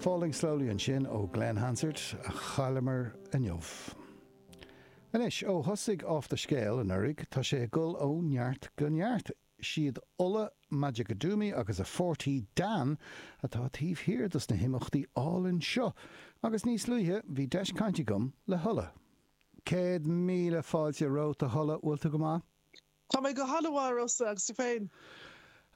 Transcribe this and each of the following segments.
Falling Slowly ansin ó Glen Hansard, a chailleamar inniu. Anois, ó thosaigh Off the Scéal anuraidh, tá sé ag dul ó neart go neart. 'Siad Ola Majekodunmi agus a pháirtí Dan atá taobh thiar dos na himeachtaí álainn seo, agus níos luaithe bhí deis cainte agam le hOla. 100,000 fáilte romhat a Ola, bhfuil tú go maith? Tá mé go han-mhaith, a Rossa, agus tú féin?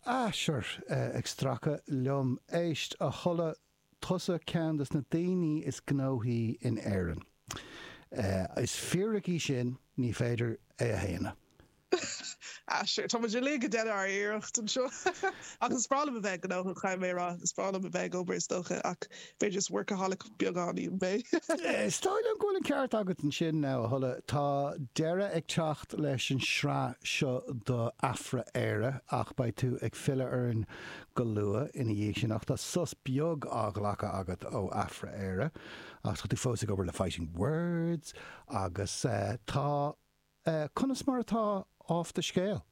Ah, sure, ag stracadh liom. Éist, a Ola, tusa ceann dos na daoine is gnóthaí in Éirinn. Is fíric í sin, ní féidir é a shéanadh. Ah, sure, tá muid uilig ag déanamh ár iarracht anseo. Ach is breá liom a bheith gnóthach, caithfidh mé a rá. Is breá liom a bheith ag obair, is dócha, ach b'fhéidir is workaholic beagáinín mé. Is dóigh liom go bhfuil an ceart agat ansin now, a Ola. Tá deireadh ag teacht leis an sraith seo do Afra-Éire ach beidh tú ag filleadh orainn go luath ina dhiaidh sin ach tá sos beag á ghlacadh agat ó Afra-Éire ach tá tú fós ag obair le Fighting Words agus tá Conas mar atá Off the Scéal?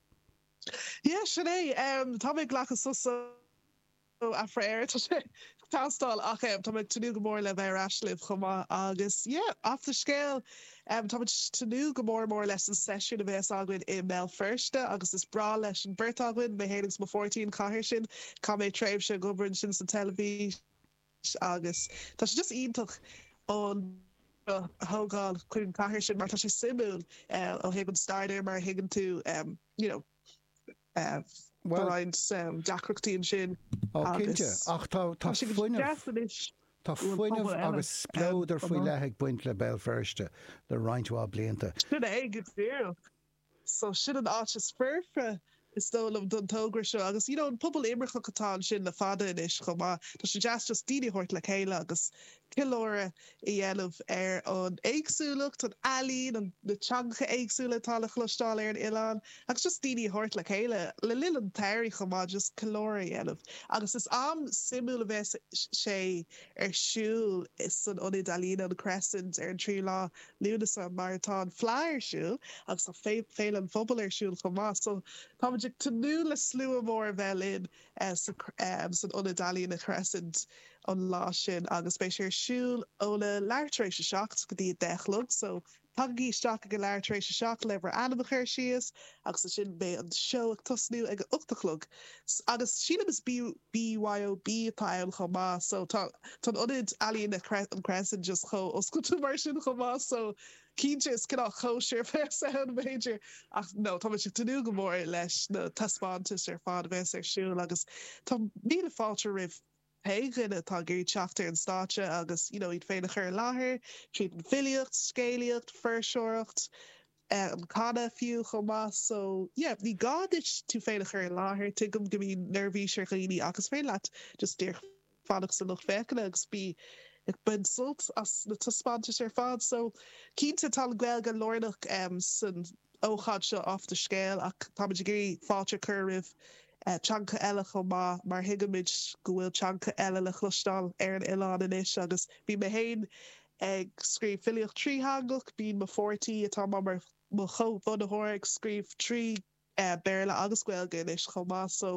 Yeah, sin é. Tá mé ag glacadh sos ó Afra-Éire, tá sé ag teastáil ach tá mé ag tnúth go mór le bheith ar ais libh chomh maith agus yeah, Off the Scéal, tá muid ag tnúth go mór mór leis an seisiún a bheas againn i mBéal Feirste agus is breá leis an beirt againn, mé féin agus mo pháirtí an chathair sin, chaith mé tréimhse ag obair ansin sa teilifís. agus tá sé just iontach an a thógáil chuig an chathair sin mar tá sé suimiúil ó thaobh an stair de mar a thuigeann tú you know tá roinnt deacrachtaí ansin agus ach tá tá sé go deas anois Tá fuinneamh agus spleodar faoi leith ag baint le Béal Feirste le roinnt mhaith blianta. Sin é go díreach. So sin an áit is foirfe is dóigh liom don togra seo agus you know an pobal imirceach atá ansin le fada anois chomh maith. Tá sé deas just daoine a thabhairt le chéile agus ceiliúradh a dhéanamh ar an éagsúlacht, an ealaín, an na teangacha éagsúla atá le chloisteáil ar an oileán agus just daoine a thabhairt le chéile le linn an tsamhraidh chomh maith just ceiliúradh a dhéanamh. Agus is am suimiúil a bheas sé ar siúl san Ionad Ealaíne an Crescent ar an tríú lá Lúnasa mar tá an Fleadh ar siúl agus tá Féile an Phobail ar siúl chomh maith so táimid ag tnúth le slua mór a bheith linn san Ionad Ealaíne Crescent an lá sin agus beidh sé ar siúl óna leathuair tar éis a 7 go dtí a 10 a chlog so tagaigí isteach ag a leathuair tar éis a 7 le bhur ainm a chur síos agus ansin beidh an seó ag tosnú ag a 8 a chlog agus sílim is BYOB atá ann chomh maith so tá tá an ionad ealaíne an Crescent just chomh oscailte mar sin chomh maith so cinnte is cineál cóisir a bheas ann b'fhéidir ach no tá muid ag tnúth go mór leis na taispeántais ar fad a bheas ar siúl agus tá míle fáilte roimh pé dhuine atá ag iarraidh teacht ar an stáitse agus you know iad féin a chur i láthair tríd an bhfilíocht, scéalaíocht, fuirseoireacht. an canadh fiú chomh maith so yeah ní gá duit tú féin a chur i láthair, tuigim go mbíonn neirbhís ar dhaoine ach is féidir leat just díreach fanacht sa lucht féachana agus bí ag baint sult as na taispeántais ar fad so cinnte tá an Ghaeilge lárnach san ócáid seo Off the Scéal ach táimid ag iarraidh fáilte a chur roimh teangacha eile chomh maith mar thuigimid go bhfuil teangacha eile le chloisteáil ar an oileán anois agus bhí mé féin ag scríobh filíocht trítheangach, bíonn mo pháirtí, atá mar mo chomhbhunaitheoir, ag scríobh trí Béarla agus Gaeilge anois chomh maith so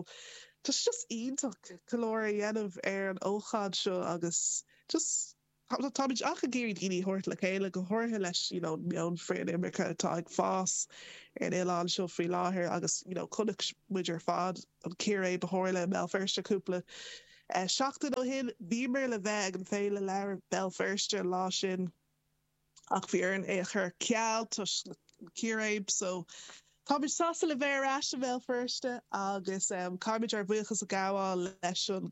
tá sé just iontach ceiliúradh a dhéanamh ar an ócáid seo agus just táimid ach ag iarraidh daoine a thabhairt le chéile, go háirithe leis you know an meon frith-inimirce atá ag fás ar an oileán seo faoi láthair agus you know chonaic muid ar fad an círéib a tharla i mBéal Feirste cúpla Seachtain ó shin, bhíomar le bheith ag an Féile Leabhar Béal Feirste an lá sin ach bhí orainn é a chur ar ceal toisc na círéib so táimid sásta le bheith ar ais i mBéal Feirste agus caithfimid ár bhuíochas a ghabháil leis an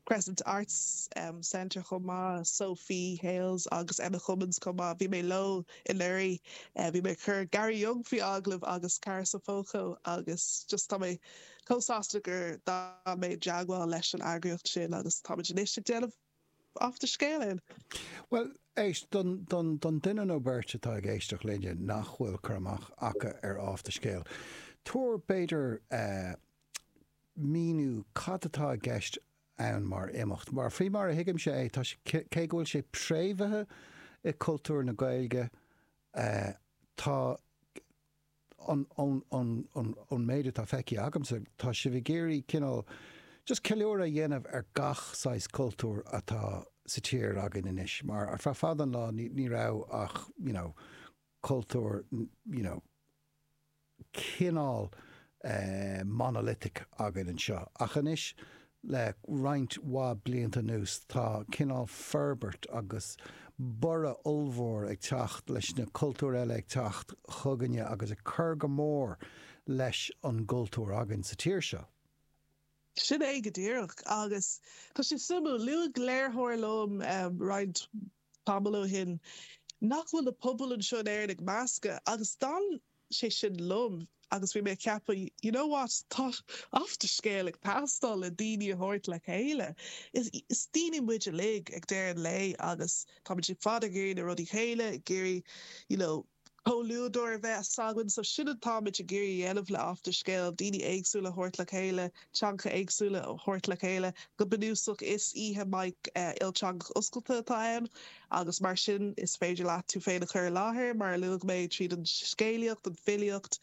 Crescent Arts Centre chomh maith, Sophie Hales agus Emma Cummins chomh maith. Bhí mé leo anuraidh, bhí mé ag cur Gary Younge faoi agallamh agus Cara Sopocko agus just tá mé chomh sásta gur d'fhan mé i dteagmháil leis an eagraíocht sin agus táimid anois ag déanamh Off the Scéal ann. Bhuel, éist, don, don, don duine nó beirt atá ag éisteacht linne nach bhfuil cur amach acu ar Off the Scéal, tabhair, b'fhéidir, eh, míniú cad atá i gceist ann mar imeacht. Mar, faoi mar a thuigimse é, tá sé, cé go bhfuil sé préamhaithe i cultúr na Gaeilge, eh, tá, ón méid atá feicthe agamsa, tá sibh ag iarraidh cineál just ceiliúradh a dhéanamh ar gach saghas cultúr atá. sa tír againn anois mar ar feadh fada an lá ní ní raibh ach you know cultúr you know cineál monolithic againn anseo ach anois le roinnt mhaith blianta anuas tá cineál forbairt agus borradh ollmhór ag teacht leis na cultúir eile ag teacht chugainne agus ag cur go mór leis an gcultúr againn sa tír seo. Sin é go díreach agus tá sé suimiúil, luaigh léiritheoir liom roinnt tamall ó shin nach bhfuil na pobail anseo in Éirinn ag meascadh agus d'fhan sé sin liom agus bhí mé ag ceapadh you know what tá Off the Scéal ag teastáil le daoine a thabhairt le chéile. Is is daoine muid uilig ag deireadh an lae agus táimid ar fad ag iarraidh na rudaí chéile, ag iarraidh you know comhluadar a bheith againn. So sin atáimid ag iarraidh a dhéanamh le Off the Scéal, daoine éagsúla a thabhairt le chéile, teangacha éagsúla a thabhairt le chéile. Go bunúsach is oíche mic ilteangach oscailte atá ann agus mar sin is féidir leat tú féin a chur i láthair, mar a luaigh mé, tríd an scéalaíocht, an filíocht,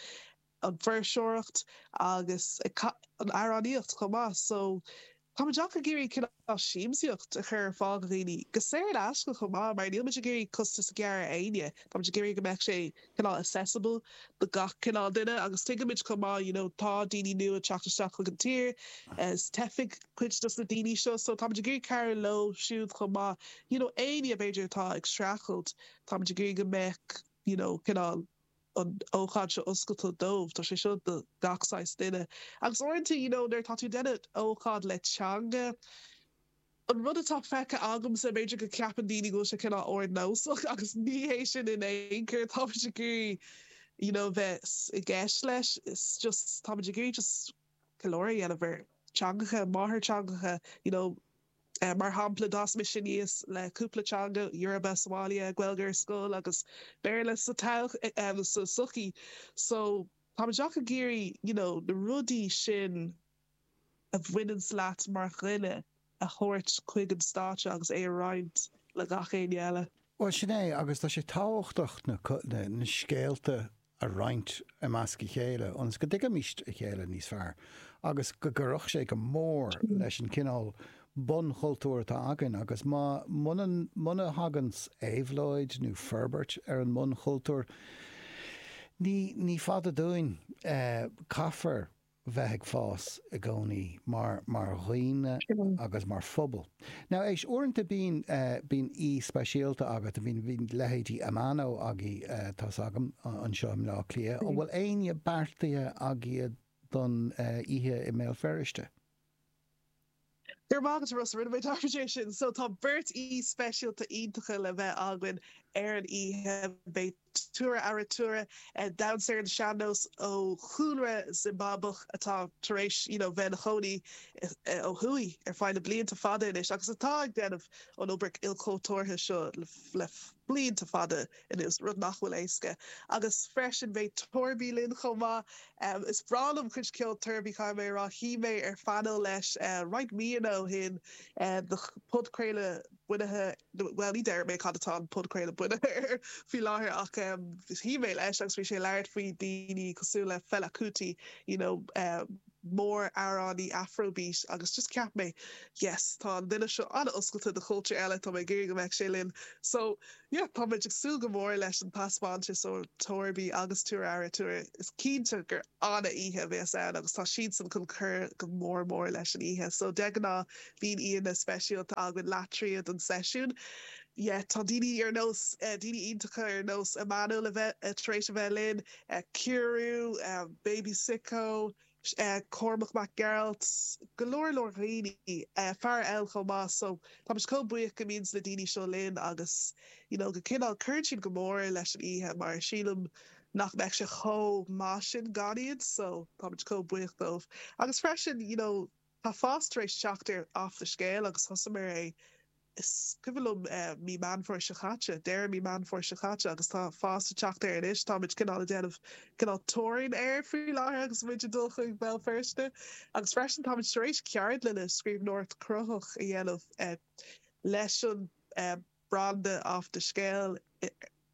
an fuirseoireacht agus an amhránaíocht chomh maith. So táimid ach ag iarraidh cineál siamsaíocht a chur ar fáil do dhaoine, go saor in aisce chomh maith, mar níl muid ag iarraidh costas a ghearradh ar éinne, táimid ag iarraidh go mbeadh sé cineál accessible do gach cineál duine agus tuigimid chomh maith you know tá daoine nua ag teacht isteach chuig an tír, is teifigh cuid dos na daoine seo so táimid ag iarraidh cabhrú leo siúd chomh maith, you know éinne b'fhéidir atá ag streachailt, táimid ag iarraidh go mbeadh you know cineál an ócáid seo oscailte dóibh. Tá sé seo do gach saghas duine. Agus uaireanta, you know, nuair atá tú ag déanamh ócáid le teanga, an rud atá feicthe agamsa, b'fhéidir go gceapann daoine go bhfuil sé cineál ardnósach agus ní hé sin in aon chor. Táimid ag iarraidh, you know, bheith i gceist leis. It's just, táimid ag iarraidh just ceiliúradh a dhéanamh ar teangacha, máthairtheangacha, you know, Mar shampla, d'fhás mise aníos le cúpla teanga, Yoruba sa bhaile, Gaeilge ar scoil agus Béarla sa sa tsochaí. So, táimid ach ag iarraidh, you know, na rudaí sin a bhaineanns leat mar dhuine a thabhairt chuig an stáitse agus é a roinnt le gach éinne eile. Bhuel, sin é, agus tá sé tábhachtach na na scéalta a roinnt i measc a chéile ionas go dtuigfimís a chéile níos fearr agus go gcuirfeadh sé go mór leis an cineál bunchultúr atá againn agus má muna muna thaganns éabhlóid nó forbairt ar an mbunchultúr ní ní fada dúinn caithfear bheith ag fás i gcónaí mar mar dhaoine agus mar phobal. Now éist, uaireanta bíonn bíonn aoi speisialta agat, bíonn bíonn leithéidí Amano agaibh tá's agam anseo i mBleá Cliath. An bhfuil éinne beartaithe agaibh don oíche i mBéal Feirste? Go raibh maith agat a Rossa, rinne mé dearmad é sin. So tá beirt aoi speisialta iontacha le bheith againn ar an oíche. Beidh Tura Aritura, damhsóir ar an sean-nós ó chúlra Zimbabach atá tar éis you know bheith ina chónaí ó thuaidh ar feadh na blianta fada anois agus atá ag déanamh an obair ilchultúrtha seo le blianta fada anuas, rud nach bhfuil éasca. Agus freisin beidh Torby linn chomh maith. Is breá liom cuid ceoil Torby, caithfidh mé a rá. Shuigh mé ar phainéal leis roinnt míonna ó shin do podchraoladh bunaithe, bhuel ní déarfaidh mé cad atá an podchraoladh bunaithe air faoi láthair ach shuigh mé leis agus bhí sé ag labhairt faoi daoine cosúil le Fela Kuti, you know, mór-amhránaí Afrobeat agus just cheap mé yes tá an duine seo an-oscailte do chultúir eile, tá mé ag iarraidh go mbeadh sé linn. So yeah tá muid ag súil go mór leis an taispeántas ó Torby agus Tura Aritura. Is cinnte gur an-oíche a bheas ann agus tá siadsan chun cur go mór mór leis an oíche. So de ghnáth bíonn aíonna speisialta againn leath tríd an seisiún. Yeah tá daoine ar nós, daoine iontacha ar nós Emmanuel a bheith tar éis a bheith linn, Kiru, Baby Sicko, Cormac Mac Gearailt, go leor leor dhaoine, Farah Elle chomh maith so táimid chomh buíoch go mbíonns na daoine seo linn agus you know go cineál cuireann siad go mór leis an oíche mar sílim nach mbeadh sé chomh maith sin gan iad so táimid chomh buíoch dóibh. Agus freisin you know tá fás tar éis teacht ar Off the Scéal agus thosaíomar é Is cuimhin liom mí Meán Fómhair seo caite, deireadh mí Meán Fómhair seo caite agus tá fás ag teacht air anois. Táimid cineál ag déanamh cineál touring air faoi láthair agus muid ag dul chuig Béal Feirste. Agus freisin táimid tar éis ceardlanna scríbhneoireacht chruthaitheach a dhéanamh leis an branda Off the Scéal i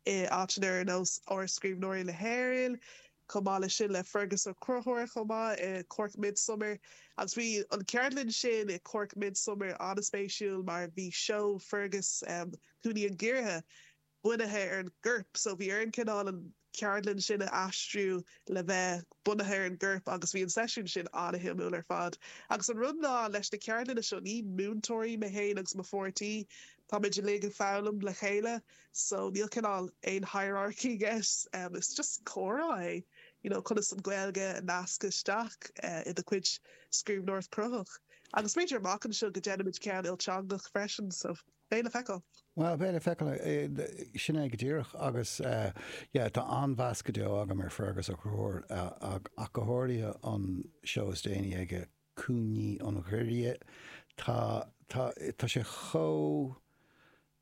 áiteanna ar nós Áras Scríbhneoirí na hÉireann. Chomh maith leis sin le Fergus Ó Conchúir chomh maith i Cork Midsummer agus bhí an ceardlann sin i Cork Midsummer an-spéisiúil mar bhí seó Fergus Cúinní an Ghiorria bunaithe ar an gcorp so bhí orainn cineál an ceardlann sin a aistriú le bheith bunaithe ar an gcorp agus bhí an seisiún sin an-shuimiúil ar fad. Agus an rud ná leis na ceardlanna seo ní múinteoirí mé féin agus mo pháirtí, táimid uilig ag foghlaim le chéile so níl cineál aon hierarchy i gceist, is just comhrá é, you know conas an Ghaeilge a nascadh isteach i do chuid scríbhneoireacht chruthaitheach. Agus b'fhéidir amach anseo go ndéanfaimid ceann ilteangach freisin so beidh le feiceáil. Bhuel, beidh le feiceáil, sin é go díreach agus yeah tá an-mheas go deo agam ar Fergus Ó Conchúir ach go háirithe an seó is déanaí aige, Cúinní an Ghiorria. Tá, tá, tá sé chomh,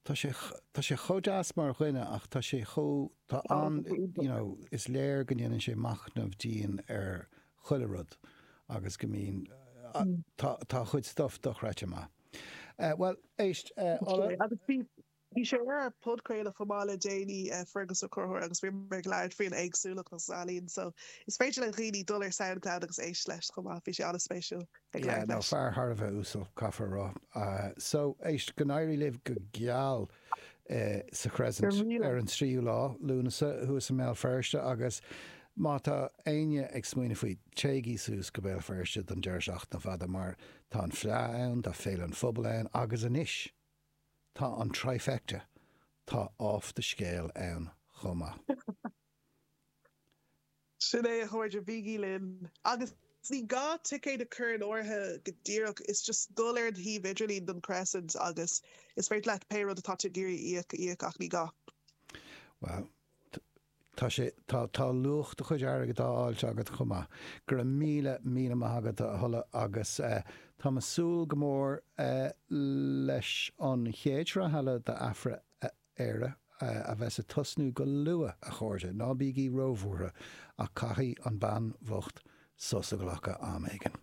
tá sé, tá sé chomh deas mar dhuine ach tá sé chomh, tá an, you know, is léir go ndéanann sé machnamh dian ar chuile rud agus go mbíonn, tá, tá a chuid stuff dochreidte maith. Bhuel, éist, Ola. Agus bhí, bhí sé ar ár podchraoladh chomh maith le déanaí, Fergus Ó Conchúir, agus bhíomar ag labhairt faoin éagsúlacht agus ealaín, so is féidir le dhaoine dul ar Soundcloud agus éist leis chomh maith, bhí sé an-spéisiúil ag labhairt leis. Yeah, no, fear thar a bheith uasal, caithfear a rá. So, éist, go n-éirí libh go geal sa Crescent ar an tríú lá, Lúnasa, thuas i mBéal Feirste agus má tá éinne ag smaoineamh faoi, téigí suas go Béal Feirste don deireadh seachtaine fada mar Tá an Fleadh ann, tá Féile an Phobail ann agus anois tá an trifecta, tá Off the Scéal ann chomh maith. Sin é a chairde, bígí linn. Agus ní gá ticéad a chur in áirithe go díreach, is just dul ar an shuíomh idirlín don Crescent agus is féidir leat pé rud atá tú ag iarraidh a íoc, a íoc ach ní gá. Bhuel, Tá sé, tá, tá luach do chuid airgid á fháilt agat chomh maith. Go raibh míle, míle maith agat a Ola agus eh táim ag súil go mór eh leis an chéad sraith eile d'Afra-Éire a bheas ag tosnú go luath, a chairde, ná bígí róbhuartha ach caithfidh an bean bhocht sos a ghlacadh am éigin.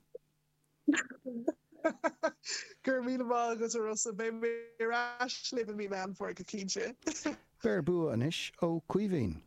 Go raibh míle maith agat a Rossa. Beidh mé ar ais libh i mí Meán Fómhair go cinnte. Beir bua anois ó Caoimhín.